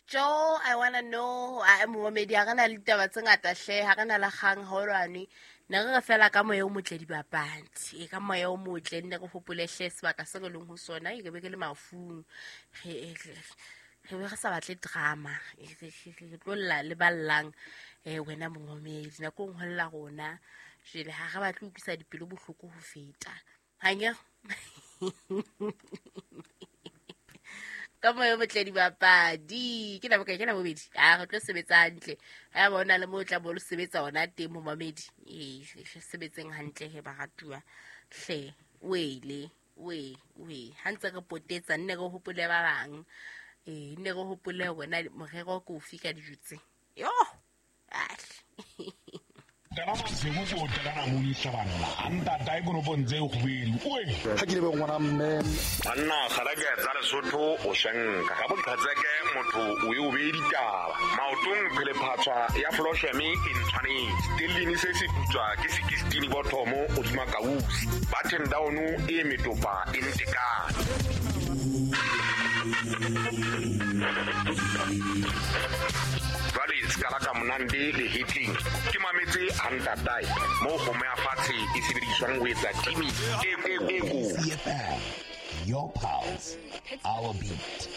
Jo, I wanna know. A momamedi, ha re na le ditaba tse ngata hle, ha re na le kgang haolwane. Ne re re fela ka moya o motle dibapadi. E ka moya o motle nne re hopole hle sebaka se re leng ho sona, e ke be ke le mafung. Re be re sa batle drama. Re tlo lla le ba llang wena momamedi. Nako e nngwe ho lla rona. Jwale ha re batle ho utlwisa dipelo bohloko ho feta. Hanya. Ka moya o motle dibapadi. Ke nako ke nako bobedi. A re tlo sebetsa hantle. Ha ba ona le mo tla bo lo sebetsa ona teng momamedi. Ee, re sebetseng hantle he baratuwa. Hle, wele, we, we. Ha ntse re potetsa nne re hopole ba bang. Ee, nne re hopole hore na morero ke ofe ka dijo tse. Yo. Ahle. Tana masigo ko tana modisa banna a ntata e konopong tse kgobedi oe ga ke lebe ngwana mme banna kgareke tsa Lesotho o shenka ga boqhetseke motho o e o beye ditaba maotong phelephatswa ya flosheme e ntshwanetse stellini se se putswa ke sekistini bothomo godima kausi button down e metopa e ntekane jwale sekala ka monande le hitling ke mametse a ntatae mo kgomo ya fatshe e sebediswang ho etsa timi e kotsi. Your pulse, our beat.